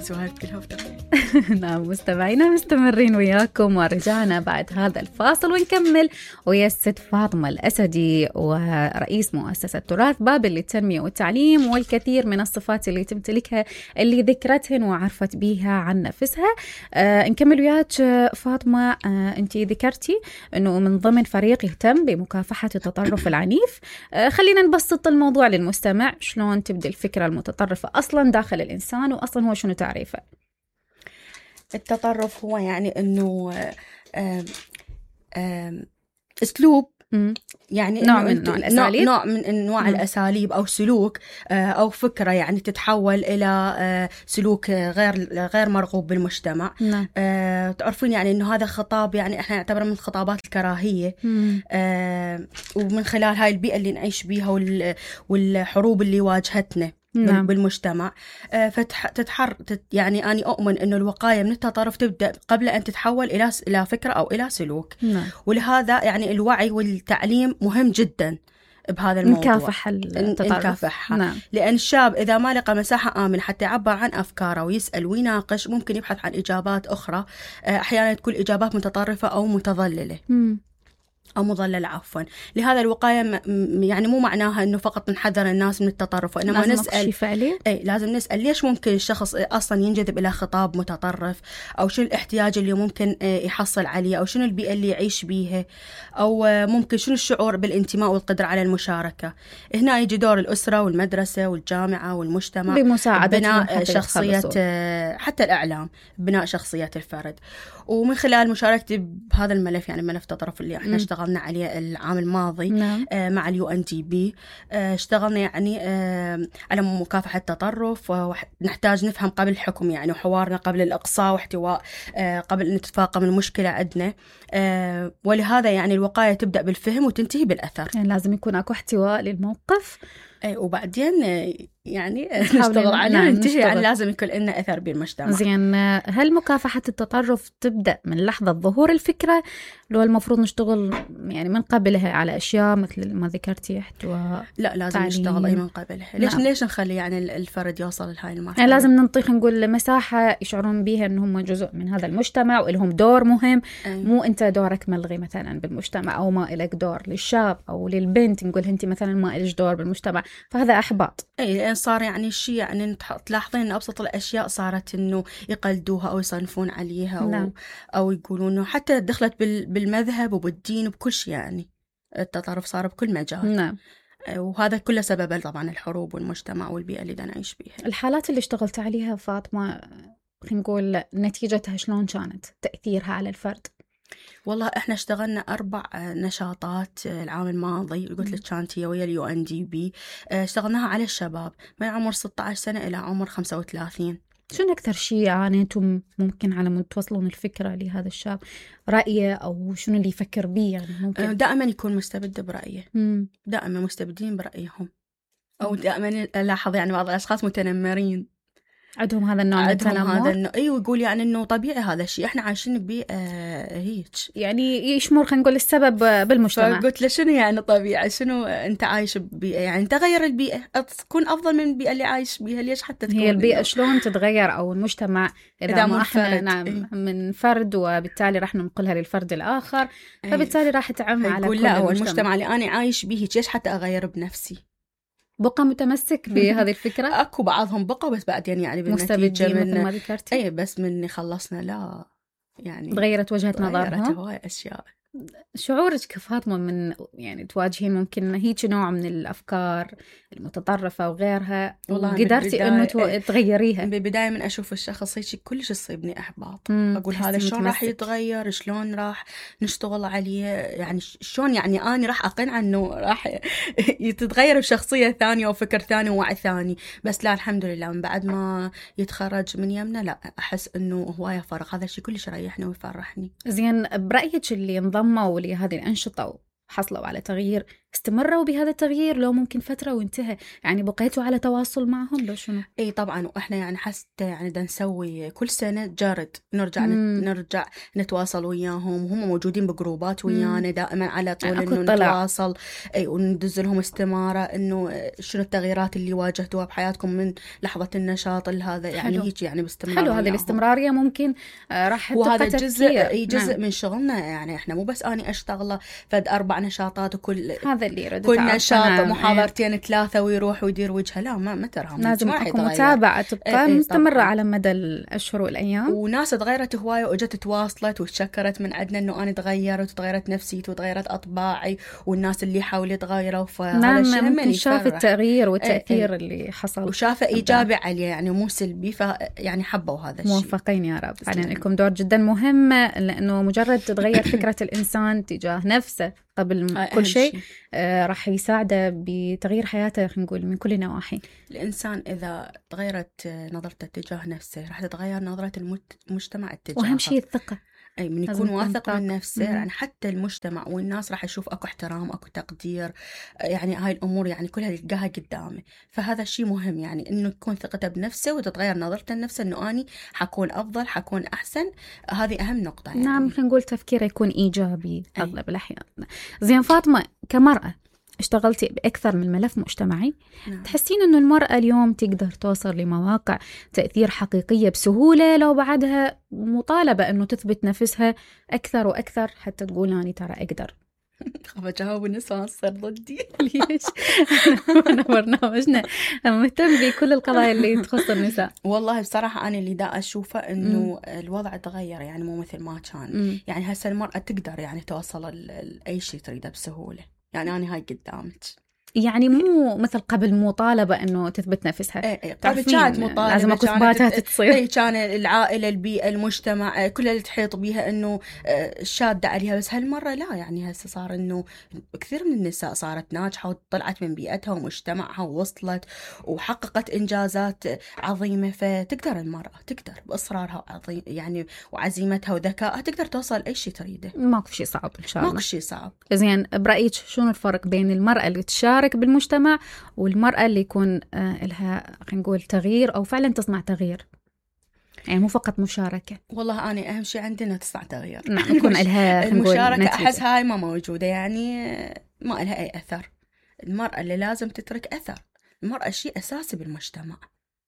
سوالف كلها نعم مستمعينا مستمرين وياكم ورجعنا بعد هذا الفاصل ونكمل ويا الست فاطمة الأسدي ورئيس مؤسسة تراث بابل للتنمية والتعليم والكثير من الصفات اللي تمتلكها اللي ذكرتهن وعرفت بيها عن نفسها. نكمل وياك فاطمة. أنت ذكرتي أنه من ضمن فريق يهتم بمكافحة التطرف العنيف. خلينا نبسط الموضوع للمستمع، شلون تبدأ الفكرة المتطرفة أصلا داخل الإنسان وأصلا هو شنو تعريفه؟ التطرف هو يعني أنه أسلوب، يعني نوع من الأساليب، نوع من أنواع الأساليب أو سلوك أو فكرة يعني تتحول إلى سلوك غير مرغوب بالمجتمع. تعرفين يعني أنه هذا خطاب يعني إحنا نعتبره من خطابات الكراهية، ومن خلال هاي البيئة اللي نعيش بيها والحروب اللي واجهتنا بالمجتمع. يعني أنا أؤمن أنه الوقاية من التطرف تبدأ قبل أن تتحول إلى فكرة أو إلى سلوك. ولهذا يعني الوعي والتعليم مهم جدا بهذا الموضوع، نكافح التطرف. لأن الشاب إذا ما لقى مساحة آمنة حتى يعبر عن أفكاره ويسأل ويناقش ممكن يبحث عن إجابات أخرى، أحيانا تكون إجابات متطرفة أو متضللة أو مضلل عفوا. لهذا الوقاية يعني مو معناها إنه فقط نحذر الناس من التطرف، وإنما نسأل لازم نسأل ليش ممكن الشخص أصلا ينجذب إلى خطاب متطرف، أو شنو الاحتياج اللي ممكن يحصل عليه، أو شنو البيئة اللي يعيش بيها، أو ممكن شنو الشعور بالانتماء والقدرة على المشاركة. هنا يجي دور الأسرة والمدرسة والجامعة والمجتمع بمساعدة بناء شخصية، حتى الإعلام بناء شخصية الفرد. ومن خلال مشاركتي بهذا الملف، يعني ملف التطرف اللي احنا اشتغلنا عليه العام الماضي مع الUNDP، اشتغلنا يعني على مكافحة التطرف، ونحتاج نفهم قبل الحكم يعني، وحوارنا قبل الإقصاء واحتواء قبل أن تتفاقم المشكلة عندنا. ولهذا يعني الوقاية تبدأ بالفهم وتنتهي بالأثر، يعني لازم يكون أكو احتواء للموقف وبعدين يعني نشتغل عليه وننتهي. يعني لازم يكون لنا أثر بالمجتمع. زين، هل مكافحة التطرف تبدأ من لحظة ظهور الفكرة، لو المفروض نشتغل يعني من قبلها على أشياء مثل ما ذكرتي احتواء؟ لا، لازم نشتغل أي من قبلها. ليش نخلي يعني الفرد يوصل لهاي المرحلة؟ يعني لازم ننطيق نقول مساحة يشعرون بيها أنهم جزء من هذا المجتمع ولهم دور مهم. مو أنت دورك ملغي مثلا بالمجتمع، أو ما إلك دور للشاب أو للبنت نقول أنت مثلا ما إلك دور بالمجتمع، فهذا أحباط. لأن صار يعني الشيء يعني تلاحظين أن أبسط الأشياء صارت إنه يقلدوها أو يصنفون عليها، أو يقولون إنه حتى دخلت بالمذهب وبالدين وبكل شيء. يعني التطرف صار بكل مجال. وهذا كله سببه طبعا الحروب والمجتمع والبيئة اللي نعيش بيها. الحالات اللي اشتغلت عليها فاطمة، خلينا نقول نتيجتها شلون كانت، تأثيرها على الفرد؟ والله احنا اشتغلنا 4 نشاطات العام الماضي، قلت لك كانت هي ويا الUNDP. اشتغلناها على الشباب من عمر 16 سنة إلى عمر 35. شنو أكثر شيء عانيتم ممكن على ما توصلون الفكرة لهذا الشاب؟ رأيه أو شنو اللي يفكر بيه؟ يعني ممكن دائما يكون مستبد برأيه، دائما مستبدين برأيهم، أو دائما ألاحظ يعني بعض الأشخاص متنمرين، عندهم هذا النوع من التنمر. أيوة، يقول يعني إنه طبيعي هذا الشيء، إحنا عايشين بيه هيك، يعني يشمر خلينا نقول السبب بالمجتمع. فقلت له شنو يعني طبيعي، شنو أنت عايش ببيئة، يعني تغير البيئة تكون أفضل من البيئة اللي عايش بيها. ليش حتى تكون هي البيئة شلون تتغير أو المجتمع إذا ما إحنا من فرد، وبالتالي راح ننقلها للفرد الآخر، فبالتالي راح تعم على كل لا، هو المجتمع اللي أنا عايش به ليش حتى أغير بنفسي. بقى متمسك بهذه الفكرة. أكو بعضهم بقى، بس بعدين يعني بالنتيجة مثل ما ذكرتي. بس من خلصنا لا يعني تغيرت وجهة نظرهم، تغيرت هواي أشياء. شعورك كفاطمة من يعني تواجهين ممكن هيك نوع من الأفكار المتطرفة وغيرها، وقدرتي إنه تغيريها؟ بالبداية من أشوف الشخص هيك كلش يصيبني إحباط، أقول هذا شلون راح يتغير، شلون راح نشتغل عليه، يعني شلون يعني أنا راح أقنع إنه راح يتغير بشخصية ثانية وفكر ثاني ووعي ثاني. بس لا، الحمد لله من بعد ما يتخرج من يمنا لا أحس إنه هواية فرق، هذا الشيء كلش يريحني ويفرحني. زين، برأيك اللي انضموا لهذه الأنشطة وحصلوا على تغيير استمروا بهذا التغيير لو ممكن فترة وانتهى؟ يعني بقيتوا على تواصل معهم لو شنو؟ اي طبعا، واحنا يعني حتى يعني دا نسوي كل سنة جارد نرجع نرجع نتواصل وياهم، وهم موجودين بجروبات ويانا دائما على طول انه نتواصل. اي وندز لهم استمارة انه شنو التغييرات اللي واجهتوها بحياتكم من لحظة النشاط هذا، يعني هيك يعني باستمرار. حلو، هذه الاستمرارية ممكن راح وهذا جزء من شغلنا. يعني احنا مو بس اني اشتغله فد 4 نشاطات وكل هذا اللي كل نشاط محاضرتين 3 ويروح ويدير وجهه، لا ما ترهم، لازم اكو متابعة تبقى مستمرة على مدى الاشهر والايام. وناس تغيرت هواية واجت تواصلت وتشكرت من عندنا انه انا تغيرت وتغيرت نفسيتي وتغيرت اطباعي، والناس اللي حولي تغيروا. فهذا الشيء ممكن شاف التغيير والتأثير اللي حصل وشافه ايجابي عليه يعني مو سلبي، يعني حبوا هذا الشيء. موفقين يا رب. فعلا لكم دور جدا مهم، لانه مجرد تتغير فكرة الانسان تجاه نفسه قبل كل شيء راح يساعده بتغيير حياته، خلينا نقول من كل النواحي. الإنسان إذا تغيرت نظرته تجاه نفسه راح تتغير نظرة المجتمع اتجاهه. وأهم شيء الثقة، أي من يكون واثق من نفسه يعني حتى المجتمع والناس راح يشوف أكو احترام أكو تقدير، يعني هاي الأمور يعني كلها يلقاها قدامه. فهذا الشيء مهم، يعني إنه تكون ثقته بنفسه وتتغير نظرته لنفسه إنه أني حكون أفضل حكون أحسن. هذه أهم نقطة يعني. نعم، خلينا نقول تفكيره يكون إيجابي أغلب الأحيان. زين فاطمة، كمرأة اشتغلتي بأكثر من ملف مجتمعي، تحسين أنه المرأة اليوم تقدر توصل لمواقع تأثير حقيقية بسهولة لو بعدها مطالبة أنه تثبت نفسها أكثر وأكثر حتى تقول أنا ترى أقدر؟ خاف أجاوب النساء تصير ضدي. ليش؟ أنا برنامجنا مهتم بكل القضايا اللي تخص النساء. والله بصراحة أنا اللي دا أشوفه إنه الوضع تغير، يعني مو مثل ما كان. يعني هسه المرأة تقدر يعني توصل أي شيء تريده بسهولة. يعني أنا هاي قدامك، يعني مو مثل قبل مطالبة إنه تثبت نفسها. قبل كانت مطالبة، لازم أكو إثباتات تصير. كان العائلة البيئة المجتمع كلها اللي تحيط بيها إنه شادة عليها. بس هالمرة لا، يعني هسه صار إنه كثير من النساء صارت ناجحة وطلعت من بيئتها ومجتمعها ووصلت وحققت إنجازات عظيمة. فتقدر المرأة تقدر بإصرارها يعني وعزيمتها وذكائها تقدر توصل أي شيء تريده. ماكو شيء صعب إن شاء الله. ماكو شيء صعب. زين برأيك شنو الفرق بين المرأة اللي تشارك بالمجتمع والمرأة اللي يكون لها خلينا نقول تغيير أو فعلا تصنع تغيير؟ يعني مو فقط مشاركة. والله أنا أهم شيء عندنا تصنع تغيير. نعم، يكون لها المشاركة أحس هاي ما موجودة، يعني ما لها أي أثر. المرأة اللي لازم تترك أثر. المرأة شيء أساسي بالمجتمع.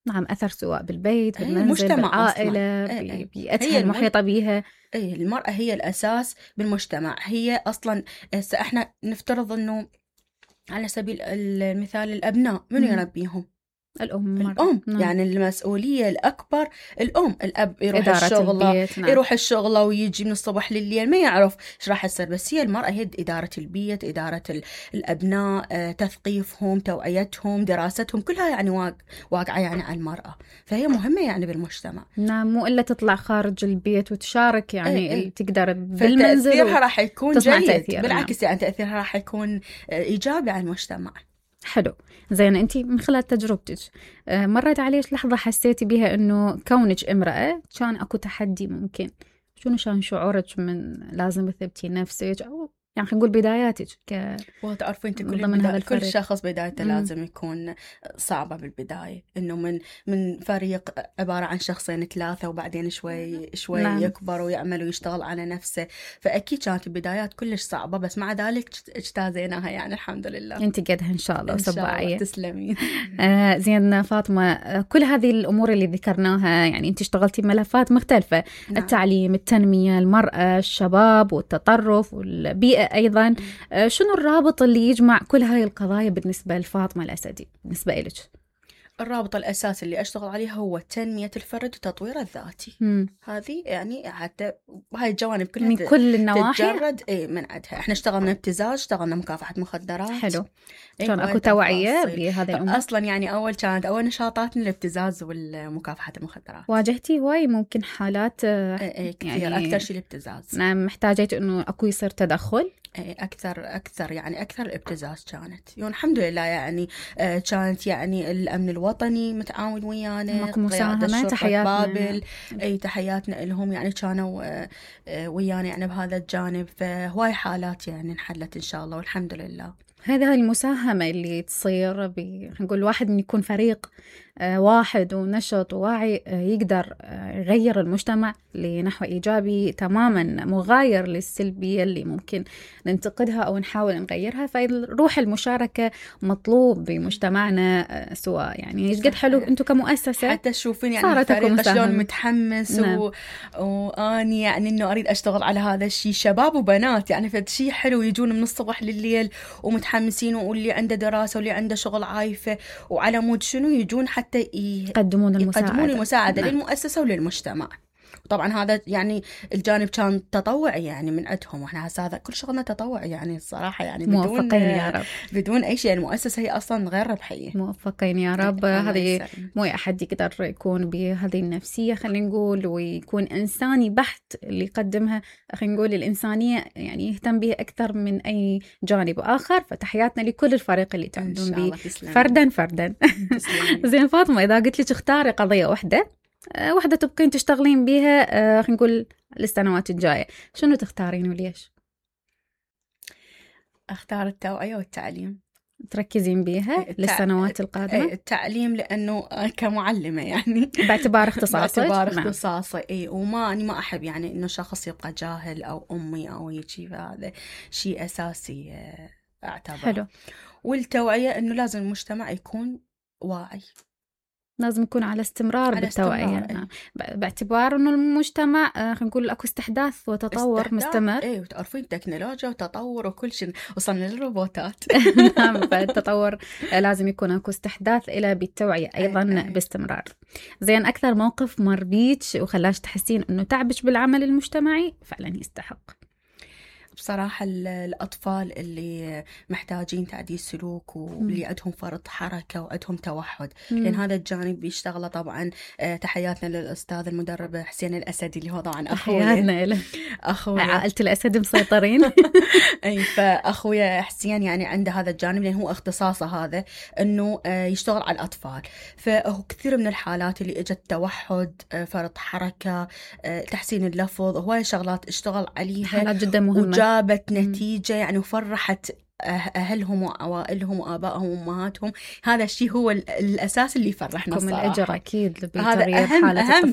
نعم، أثر سواء بالبيت بالمنزل بالعائلة بيئتها المحيطة بيها. المرأة هي الأساس بالمجتمع. هي أصلا احنا نفترض أنه على سبيل المثال الأبناء من يربيهم؟ الأم. يعني المسؤولية الأكبر الأب يروح الشغل، يروح الشغل ويجي من الصبح لليل ما يعرف إيش راح يصير. بس هي المرأة هي إدارة البيت، إدارة الأبناء، تثقيفهم، توعيتهم، دراستهم، كلها يعني واقعة يعني على المرأة. فهي مهمة يعني بالمجتمع. نعم، مو إلا تطلع خارج البيت وتشارك، يعني تقدر بالمنزل تأثيرها راح يكون جيد. بالعكس يعني تأثيرها راح يكون إيجابي على المجتمع. حلو. زين أنت من خلال تجربتك مرت عليك لحظة حسيتي بها إنه كونك امرأة كان أكو تحدي ممكن؟ شنو كان شعورك من لازم تثبتي نفسك، أو يعني خلينا نقول بداياتك وتعرفين انت كل شخص بدايته لازم يكون صعبة بالبداية، انه من فريق عبارة عن 2 3 وبعدين شوي يكبر ويعمل ويشتغل على نفسه. فأكيد كانت البدايات كلش صعبة، بس مع ذلك اجتازيناها يعني الحمد لله. انت قدها ان شاء الله وسباعية. تسلمين. زين فاطمة، كل هذه الأمور اللي ذكرناها يعني انت اشتغلتي بملفات مختلفة. نعم. التعليم، التنمية، المرأة، الشباب والتطرف والبيئة أيضا. شنو الرابط اللي يجمع كل هاي القضايا بالنسبة لفاطمة الأسدي بالنسبة إلك؟ الرابط الأساسي اللي أشتغل عليه هو تنمية الفرد وتطوير الذاتي. هذه يعني حتى هاي الجوانب كلها من كل النواحي تتجرد من عندها. احنا اشتغلنا ابتزاز، اشتغلنا مكافحة مخدرات. حلو. كان أكو توعية بهذا الأمور؟ أصلا يعني أول نشاطاتنا الابتزاز والمكافحة المخدرات. واجهتي هواي ممكن حالات كثير يعني أكثر شيء الابتزاز. نعم، محتاجة إنه أكو يصير تدخل. أكثر يعني أكثر الابتزاز كانت. الحمد لله يعني كانت يعني الأمن الوطني متعاون ويانا، قيادة الشرطة بابل، تحياتنا لهم، يعني كانوا ويانا يعني بهذا الجانب. فهواي حالات يعني انحلت إن شاء الله والحمد لله. هذه المساهمة اللي تصير نقول الواحد من يكون فريق واحد ونشط وواعي يقدر يغير المجتمع لنحو إيجابي تماما، مغاير للسلبية اللي ممكن ننتقدها أو نحاول نغيرها. فروح المشاركة مطلوب بمجتمعنا، سواء يعني قد حلو أنتم كمؤسسة حتى تشوفين يعني الفريق شلون متحمس. نعم. وأني يعني إنه أريد أشتغل على هذا الشيء، شباب وبنات يعني فشي حلو، يجون من الصبح لليل ومتحمسين، واللي عنده دراسة واللي عنده شغل عايفة وعلى مود شنو يجون حتى يقدمون المساعدة للمؤسسة وللمجتمع. طبعا هذا يعني الجانب كان تطوعي يعني من عندهم، واحنا هسه هذا كل شغلنا تطوعي يعني الصراحة، يعني موفقين يا رب. بدون أي شيء. المؤسسة هي أصلا غير ربحية. موفقين يا رب. هذه مو أحد يقدر يكون بهذه النفسية خلينا نقول، ويكون إنساني بحت اللي يقدمها. خلينا نقول الإنسانية يعني يهتم بها أكثر من أي جانب آخر. فتحياتنا لكل الفريق اللي تعملون به فردا. زين فاطمة، إذا قلت لك اختاري قضية واحدة تبقين تشتغلين بيها خلينا نقول للسنوات الجاية، شنو تختارين وليش؟ أختار التوعية والتعليم. تركزين بيها للسنوات القادمة؟ التعليم لأنه كمعلمة يعني باعتبار اختصاصي. اي، وما أنا ما أحب يعني إنه شخص يبقى جاهل أو أمي أو هيك، هذا شيء أساسي أعتبر. حلو. والتوعية إنه لازم المجتمع يكون واعي، لازم يكون على استمرار بالتوعية. باعتبار انه المجتمع خلينا نقول اكو استحداث وتطور مستمر. وتعرفين تكنولوجيا وتطور وكل شيء، وصلنا للروبوتات. نعم، فالتطور لازم يكون اكو استحداث الى بالتوعية ايضا باستمرار. زين، اكثر موقف مر بيك وخلاش تحسين انه تعبش بالعمل المجتمعي فعلا يستحق؟ بصراحة الأطفال اللي محتاجين تعديل سلوك واللي عندهم فرط حركة وعندهم توحد، لأن هذا الجانب بيشتغله طبعا. تحياتنا للأستاذ المدرب حسين الأسدي اللي هو طبعا أخويا. عائلة الأسد مسيطرين. أي، فأخويا حسين يعني عنده هذا الجانب، لأن هو اختصاصه هذا إنه يشتغل على الأطفال. فهو كثير من الحالات اللي اجت توحد، فرط حركة، تحسين اللفظ، هواي شغلات اشتغل عليها، حالات جدا مهمة، جابت نتيجة يعني، وفرحت أهلهم وعوائلهم وآبائهم وأمهاتهم. هذا الشيء هو الأساس اللي يفرحنا الصراحة. الأجر أكيد هذا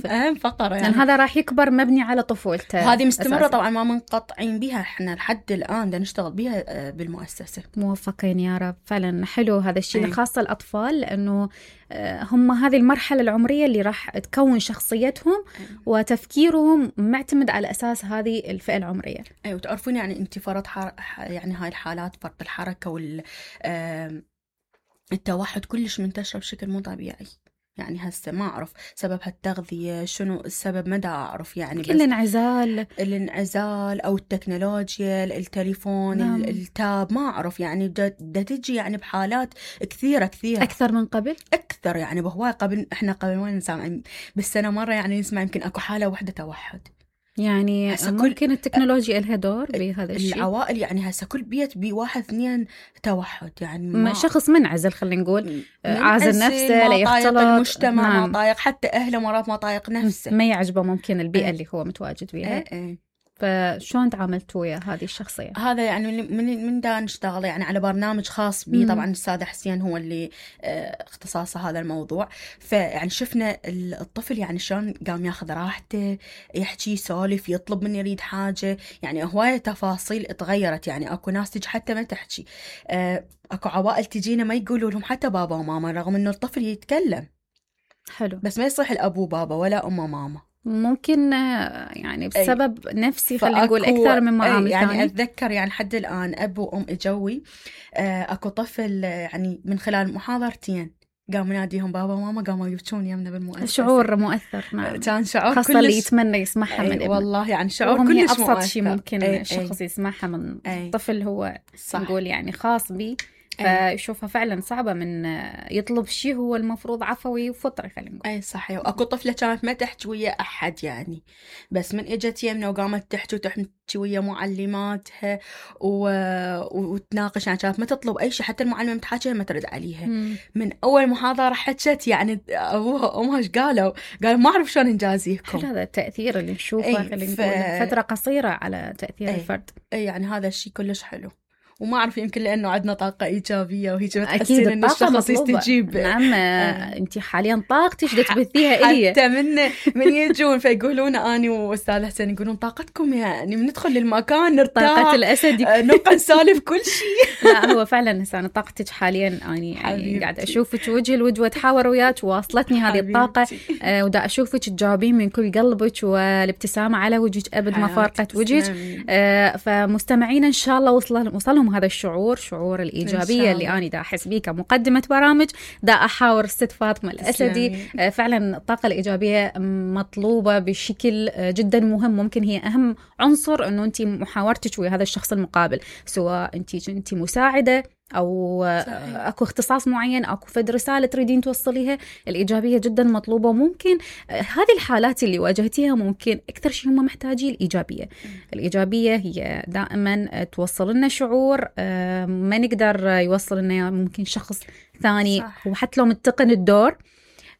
أهم فقرة يعني. هذا راح يكبر مبني على طفولته. هذه مستمرة أساسي. طبعا ما منقطعين بها، احنا لحد الآن دا نشتغل بها بالمؤسسة. موفقين يا رب. فعلا حلو هذا الشيء، خاصة الأطفال، لأنه هم هذه المرحلة العمرية اللي راح تكون شخصيتهم وتفكيرهم معتمد على أساس هذه الفئة العمرية. وتعرفون يعني أنت فرط يعني هاي الحالات فرط الحركة والتوحد كلش منتشرة بشكل مو طبيعي. يعني هسه ما أعرف سبب هالتغذية شنو السبب، مدى أعرف يعني، بس الانعزال أو التكنولوجيا، التليفون، نعم. التاب، ما أعرف يعني دا تجي يعني بحالات كثيرة أكثر من قبل، أكثر يعني بهواي. قبل وين نسمع بالسنة مرة يعني نسمع يمكن أكو حالة واحدة توحد. يعني ممكن التكنولوجيا لها دور بهذا الشيء. العوائل يعني هسه كل بيت بواحد اثنين توحد، يعني شخص منعزل خلينا نقول، عازل نفسه، لا يختلط المجتمع، نعم. ما طايق حتى أهله، مرات ما طايق نفسه، ما يعجبه ممكن البيئة اللي هو متواجد فيها. فشون تعاملتوا ويا هذه الشخصية؟ هذا يعني من دا نشتغل يعني على برنامج خاص بي. طبعا الأستاذ حسين هو اللي اختصاصه هذا الموضوع. فيعني شفنا الطفل يعني شلون قام ياخذ راحته، يحكي، يسولف، يطلب مني يريد حاجة، يعني هواية تفاصيل اتغيرت. يعني اكو ناس تجي حتى ما تحكي، اكو عوائل تجينا ما يقولوا لهم حتى بابا وماما، رغم انه الطفل يتكلم. حلو. بس ما يصح الأبو بابا ولا أم ماما. ممكن يعني بسبب نفسي خلينا نقول أكثر من معامل يعني ثاني. أتذكر يعني حد الآن أب وأم إجوي، أكو طفل يعني من خلال محاضرتين قام يناديهم بابا وماما، قاموا يبكون يمنا بالمؤسسة. شعور مؤثر، نعم. كان شعور خاصة كلش، اللي يتمنى يسمعها من ابنه. والله يعني شعور كلش أبسط مؤثر. شيء ممكن الشخص يسمعها من طفل هو نقول يعني خاص بي، فيشوفها فعلا صعبة من يطلب شيء هو المفروض عفوي وفطري خلينا نقول. اي صحيح. واكو طفلة كانت ما تحكي ويا احد يعني، بس من اجت يمنا وقامت تحكي وتحكي ويا معلماتها وتناقش، يعني كانت ما تطلب اي شيء، حتى المعلمة متحاكيها ما ترد عليها. من اول محاضرة حكت يعني ابوها وامها ايش قالوا ما اعرف شلون نجازيكم. هذا التأثير اللي نشوفه خلينا نقول فترة قصيرة على تأثير الفرد. يعني هذا الشيء كلش حلو. وما أعرف يمكن لأنه عندنا طاقة إيجابية وهيك بتحسين إن الشخص يستجيب. نعم. أنت حاليا طاقتك تبثيها إلي حتى من يجون فيقولون أنا وأستاذ حسين يقولون طاقتكم يعني بندخل للمكان نرتاح، طاقة الأسد نبقى نسالف كل شيء. لا هو فعلا هسه أنا طاقتك حاليا يعني قاعدة أشوفك وجه الوجه وأتحاور وياك، واصلتني هذه الطاقة ودا أشوفك تجاوبين من كل قلبك والابتسامة على وجهك أبد ما فارقت وجهك. فمستمعين إن شاء الله وصلهم هذا الشعور، شعور الإيجابية اللي أنا دا أحس بيه كمقدمة برامج، دا أحاور الست فاطمة الأسدي. فعلا الطاقة الإيجابية مطلوبة بشكل جدا مهم، ممكن هي أهم عنصر إنه أنت محاورتك ويا هذا الشخص المقابل، سواء أنت مساعدة أو أكو اختصاص معين، أكو فد رسالة تريدين توصليها، الإيجابية جدا مطلوبة. ممكن هذه الحالات اللي واجهتيها ممكن أكثر شيء هم محتاجين الإيجابية. الإيجابية هي دائما توصل لنا شعور ما نقدر يوصل لنا ممكن شخص ثاني، وحتى لو متقن الدور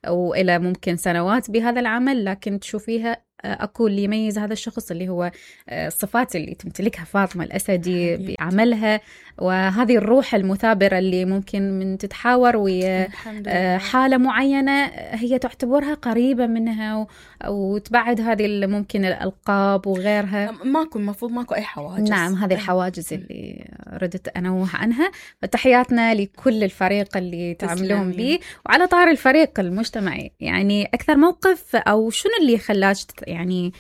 وإلى ممكن سنوات بهذا العمل، لكن تشوفيها أكو اللي يميز هذا الشخص اللي هو الصفات اللي تمتلكها فاطمة الأسدي بعملها، وهذه الروح المثابرة اللي ممكن من تتحاور ويا حالة معينة هي تعتبرها قريبة منها وتبعد هذه ممكن الألقاب وغيرها. المفروض ماكو أي حواجز. نعم، هذه الحواجز اللي ردت أنوه عنها. فتحياتنا لكل الفريق اللي تعملون به. وعلى طار الفريق المجتمعي، يعني أكثر موقف أو شنو اللي خلاك يعني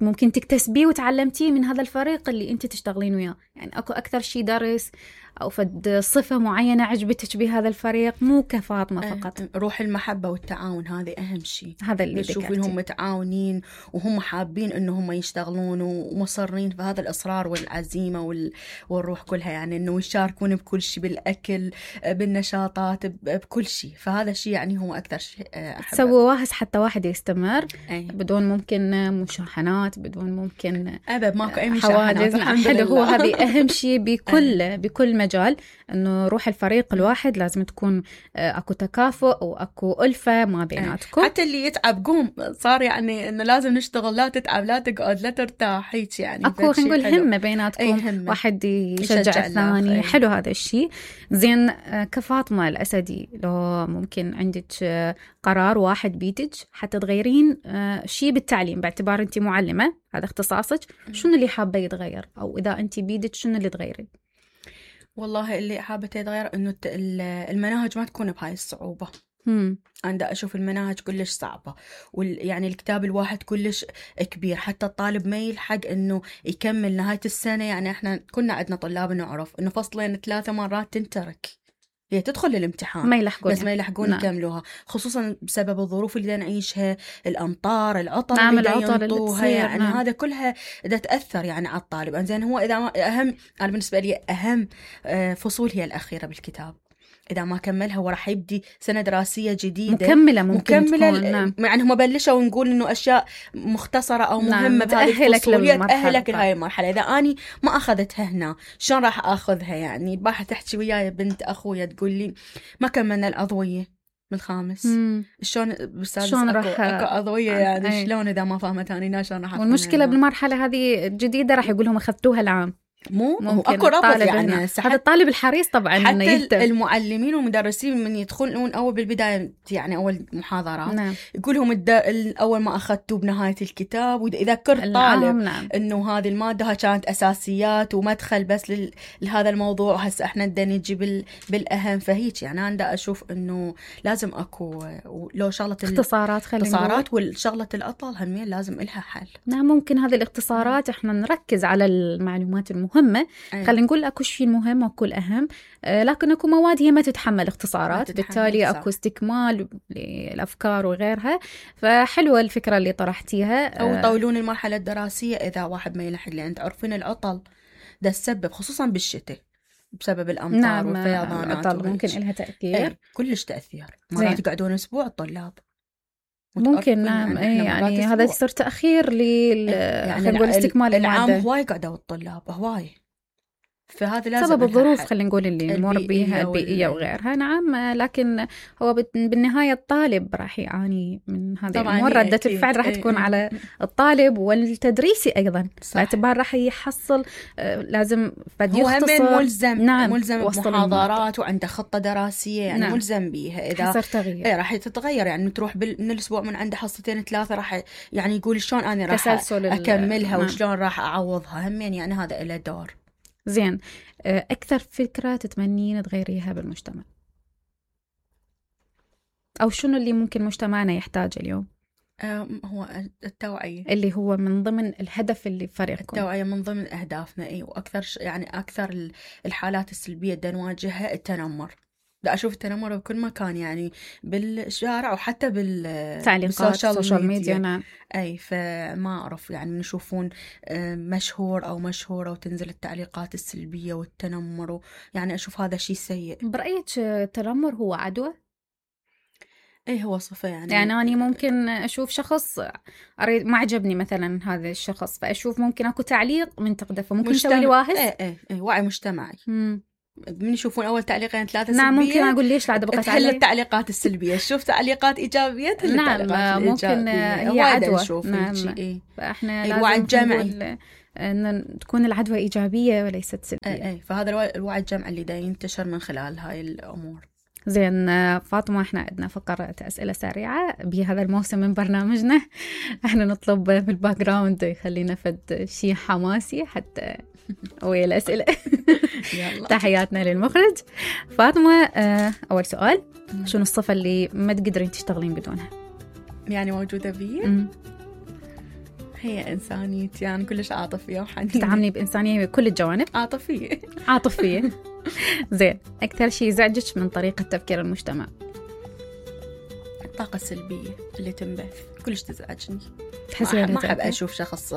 ممكن تكتسبيه وتعلمتيه من هذا الفريق اللي أنت تشتغلين وياه؟ يعني أكو أكثر شيء درس أو فد صفة معينة عجبتك بهذا الفريق، مو كفاطمة فقط؟ روح المحبة والتعاون، هذه أهم شيء. هذا اللي تشوفينهم متعاونين وهم حابين إنهم يشتغلون ومصرين في هذا الإصرار والعزيمة والروح كلها، يعني إنه يشاركون بكل شيء، بالأكل، بالنشاطات، بكل شيء. فهذا الشيء يعني هو أكثر شيء أحبه. سووا واهس حتى واحد يستمر بدون ممكن مشاحنات، بدون ممكن أبد ماكو أي مشاحنات. حلو، هو هذه أهم شيء بكل مجال، إنه روح الفريق الواحد لازم تكون أكو تكافؤ وأكو ألفة ما بيناتكم. حتى اللي يتعب قوم، صار يعني إنه لازم نشتغل، لا تتعب لا تقعد لا ترتاح، هيك يعني أكو خلينا نقول همة بيناتكم، واحد يشجع الثاني. حلو هذا الشيء. زين، كفاطمة الأسدي لو ممكن عندك قرار واحد بيتج حتى تغيرين شيء بالتعليم، باعتبار أنت معلمة هذا اختصاصك، شنو اللي حابة يتغير؟ أو إذا أنت بيدك شنو اللي تغيري؟ والله اللي حابة يتغير إنه المناهج ما تكون بهاي الصعوبة. أنا أشوف المناهج كلش صعبة، يعني الكتاب الواحد كلش كبير، حتى الطالب ما يلحق إنه يكمل نهاية السنة. يعني إحنا كنا عندنا طلاب نعرف إنه فصلين 3 مرات تنترك، هي تدخل للامتحان ما يلحقون، بس ما يلحقون يكملوها، خصوصا بسبب الظروف اللي نعيشها، الأمطار، العطل اللي ينطوها. يعني هذا كلها دا تأثر يعني على الطالب. زين، هو إذا أهم، أنا بالنسبة لي أهم فصول هي الأخيرة بالكتاب. إذا ما كملها وراح يبدي سنة دراسية جديدة مكملة يعني هم بلشوا ونقول إنه أشياء مختصرة أو مهمة بهذه الفصول تأهلك لهاي المرحلة. إذا أني ما أخذتها هنا شلون راح أخذها؟ يعني البارحة تحكي وياي بنت أخويا تقول لي ما كملنا العضوية بالخامس، شلون بالسادس أكو عضوية؟ يعني شلون إذا ما فهمت أنا شلون راح؟ والمشكلة بالمرحلة هذه الجديدة راح يقولهم أخذتوها العام، مو اكو ربط. يعني هذا الطالب الحريص طبعا حتى المعلمين والمدرسين من يدخلون اول بالبدايه، يعني اول محاضرات يقول لهم اول ما اخذتوا بنهايه الكتاب، واذا ذكرت طالب انه هذه الماده كانت اساسيات ومدخل بس لهذا الموضوع، هسه احنا بدنا نجي بالاهم. فهيك يعني انا اشوف انه لازم اكو لو شغله اختصارات والشغله الاطول همين لازم لها حل. نعم، ممكن هذه الاختصارات احنا نركز على المعلومات المهمة. خلينا نقول اكو شيء مهم واكو الاهم، لكن اكو مواد هي ما تتحمل اختصارات، بالتالي اكو استكمال للافكار وغيرها. فحلوه الفكره اللي طرحتيها. او يطولون المرحله الدراسيه اذا واحد ما يلحق، لان تعرفين العطل ده السبب خصوصا بالشتاء بسبب الامطار والفيضانات. العطل ممكن لها تاثير، كلش تاثير. مرات يقعدون اسبوع الطلاب ممكن. نعم، يعني هذا يصير تأخير يعني نقول استكمال العام. هواي قعدوا الطلاب هواي، فهذا لازم سبب الظروف خلينا نقول اللي نمر بيها البيئية وغيرها. نعم، لكن هو بالنهاية الطالب راح يعاني من هذه الأمور. ردة الفعل راح تكون على الطالب والتدريسي أيضا، باعتبار راح يحصل لازم هو هم ملزم. نعم، ملزم بمحاضرات وعنده خطة دراسية يعني. نعم. ملزم بيها. إذا حصر تغيير راح تتغير يعني، تروح من الأسبوع من عنده حصتين 3 راح يعني يقول شلون أنا راح أكملها وشلون راح أعوضها. همين يعني هذا له دور. زين، أكثر فكرة تتمنين تغيريها بالمجتمع، أو شنو اللي ممكن مجتمعنا يحتاجه اليوم؟ هو التوعية، اللي هو من ضمن الهدف اللي فريقكم. التوعية من ضمن أهدافنا. وأكثر يعني أكثر الحالات السلبية دا نواجهها التنمر. دا أشوف التنمر بكل مكان يعني، بالشارع وحتى بالتعليقات السوشيال ميديا. نعم. أي فما أعرف يعني من يشوفون مشهور أو مشهورة وتنزل التعليقات السلبية والتنمر، يعني أشوف هذا شيء سيء. برأيك التنمر هو عدوى؟ ايه هو صفة يعني أنا ممكن أشوف شخص أريد ما عجبني مثلا هذا الشخص، فأشوف ممكن أكو تعليق من تقدفه، ممكن يسوي لي واهس. ايه وعي مجتمعي. من يشوفون أول تعليقين 3 نعم سلبية، ممكن أقول ليش لا بقيت تحل التعليقات السلبية. شوف تعليقات إيجابية تحل نعم ممكن هي عدوى. نعم. فإحنا لازم الجمعي أن تكون العدوى إيجابية وليست سلبية. فهذا الوعي الجمعي اللي دا ينتشر من خلال هاي الأمور. زين فاطمة، احنا عندنا فقرة أسئلة سريعة بهذا الموسم من برنامجنا. احنا نطلب بالباك جراوند يخلينا فد شيء حماسي حتى ويا الأسئلة. تحياتنا للمخرج. فاطمة، أول سؤال، شنو الصفة اللي ما تقدرين تشتغلين بدونها؟ يعني موجودة بي؟ هي إنسانيتي يعني، كلش عاطفية وحنينة. تتعاملي بإنسانية بكل الجوانب؟ عاطفية. زين، أكثر شيء يزعجك من طريقة تفكير المجتمع؟ الطاقة السلبية اللي تنبث كلش تزعجني. تحسين ما أحب أشوف شخص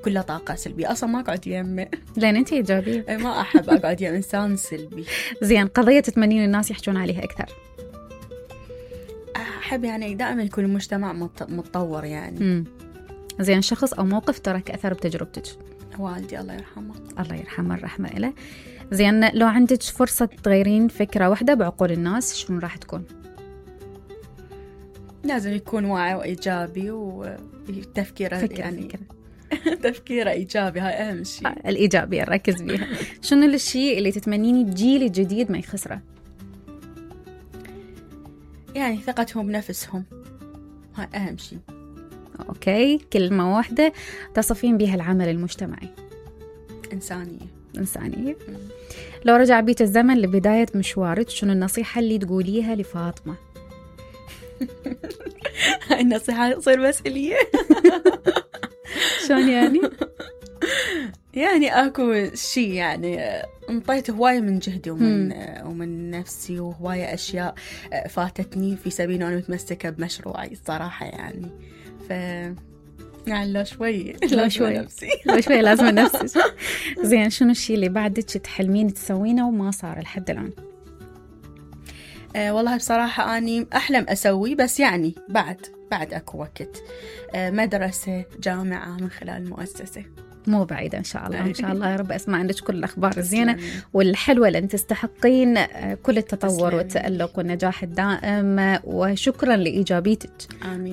كله طاقة سلبية، أصلا ما أقعد يمه. لأن أنت إيجابية. ما أحب أقعد يم إنسان سلبي. زين، قضية تتمنين الناس يحجون عليها أكثر؟ أحب يعني دائما يكون المجتمع متطور يعني. زين، شخص أو موقف ترك أثر بتجربتك؟ والدي الله يرحمه. الله يرحمه، الرحمة إله. زين، لو عندك فرصة تغيرين فكرة واحدة بعقول الناس، شنو راح تكون؟ لازم يكون واعي وإيجابي وتفكيره يعني تفكيره إيجابي، هاي أهم شيء. الإيجابية نركز بيها. شنو الشيء اللي تتمنيني الجيل الجديد ما يخسره؟ يعني ثقتهم بنفسهم، هاي أهم شيء. أوكي، كلمة واحدة تصفين بها العمل المجتمعي؟ إنسانية. لو رجع بيت الزمن لبداية مشوارك، شنو النصيحة اللي تقوليها لفاطمة؟ هاي النصيحة تصير مسؤولية. شلون يعني؟ يعني أكو شيء يعني انطيت هواية من جهدي ومن نفسي، وهواية أشياء فاتتني في سبيل أنا متمسكة بمشروعي الصراحة يعني. يعني لو شوي لازم نفسي. زين، شنو الشيء اللي بعدك تحلمين تسوينه وما صار لحد الآن؟ والله بصراحة أني أحلم أسوي، بس يعني بعد أكو وقت. مدرسة، جامعة من خلال المؤسسة مو بعيدة إن شاء الله. إن شاء الله يا رب أسمع عندك كل الأخبار الزينة والحلوة، لأن تستحقين كل التطور والتألق والنجاح الدائم. وشكرا لإيجابيتك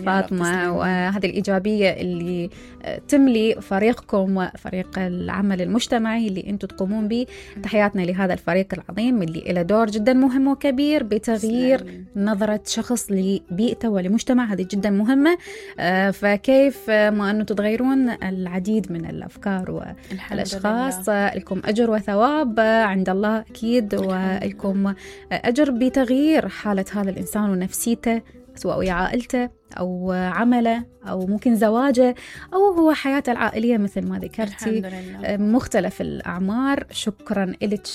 فاطمة، وهذه الإيجابية اللي تملي فريقكم وفريق العمل المجتمعي اللي أنتم تقومون به. تحياتنا لهذا الفريق العظيم اللي له دور جدا مهم وكبير بتغيير نظرة شخص لبيئته ولمجتمع، هذه جدا مهمة. فكيف ما أنه تتغيرون العديد من الأفكار والأشخاص، لكم أجر وثواب عند الله أكيد، ولكم أجر بتغيير حالة هذا الإنسان ونفسيته، سواء ويا عائلته أو عمله أو ممكن زواجه أو هو حياته العائلية مثل ما ذكرتي، مختلف الأعمار. شكرا لك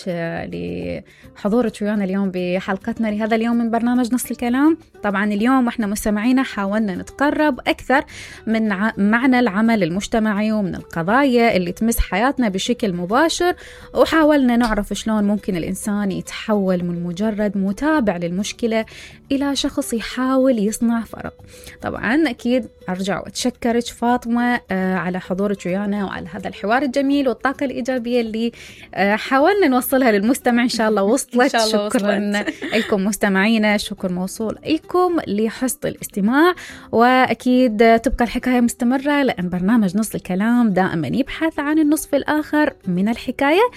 لحضورك ويانا اليوم بحلقتنا لهذا اليوم من برنامج نص الكلام. طبعا اليوم احنا مستمعينا حاولنا نتقرب أكثر من معنى العمل المجتمعي ومن القضايا اللي تمس حياتنا بشكل مباشر، وحاولنا نعرف شلون ممكن الإنسان يتحول من مجرد متابع للمشكلة إلى شخص يحاول يصنع فرق. طبعا أكيد أرجع وأتشكرك فاطمة على حضورك ويانا وعلى هذا الحوار الجميل والطاقة الإيجابية اللي حاولنا نوصلها للمستمع. إن شاء الله وصلت. شكرا لكم مستمعينا، شكر موصول لكم لحسن الاستماع، وأكيد تبقى الحكاية مستمرة لأن برنامج نص الكلام دائما يبحث عن النصف الآخر من الحكاية.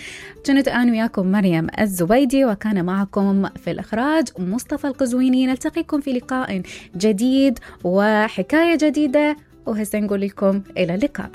كنت أنا وياكم مريم الزبيدي، وكان معكم في الإخراج مصطفى القزويني. نلتقيكم في لقاء جديد وحكاية جديدة، وهسه نقول لكم إلى اللقاء.